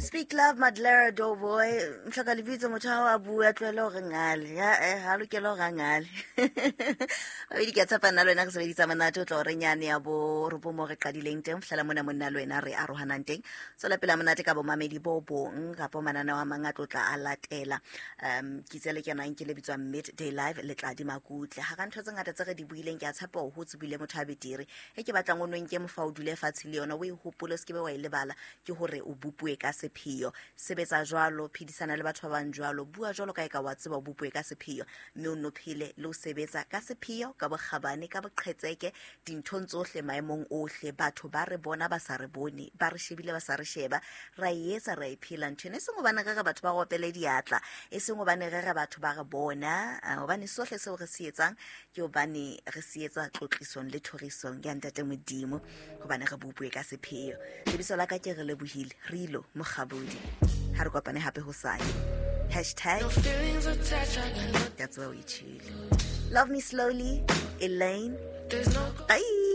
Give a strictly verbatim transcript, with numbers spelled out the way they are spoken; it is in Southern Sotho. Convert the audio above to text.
Speak love, Madlera Doughboy. Mhlaka lebitso motho ha a bua tlohele hore ngale. Ya eh ha lokela hore a ngale. Babedi ke a tshepa nna le wena re sebedisa monate o tla hore nyane ya bo ropo mo re qadileng teng fihlela mona monna le wena re arohanang teng. Tswela pele monate ka bomamedi bo bong kapa mananeo a mang a tlotla a latela. Um ke itse le kenang ke le bitswang Midday Live le tla di makutle. Ha ka ntho tse ngata tse re di buileng ke a tshepa hore ho tsebile motho a betere. E ke batlang o nwe nke mofa o dule fatshe le yona o e hopole se ke be wa e lebala ke hore o bopue ka sepheo. Sebetsa jwalo, phedisana le batho ba bang jwalo, bua jwalo ka e ka wa tseba o bopue ka sepheo, mme o nno phele le ho sebetsa ka sepheo, ka bokgabane, ka boqhetseke dinthong tsohle maemong ohle. Batho ba re bona ba sa re bone, ba re shebile ba sa re sheba, ra e etsa ra e phela ntho ena. E seng hobane re re batho ba ropele diatla, e seng hobane re re batho ba re bona, hobane sohle seo re se etsang ke hobane re se etsa tlotlisong le thorisong ya Ntate Modimo, hobane re bopue ka sepheo. Lebitso la ka ke re lebohile Rilo Mokgabodi. Ha re kopane hape hosane. Hashtag that's where we chill. Love me slowly, Elaine. There's no Bye.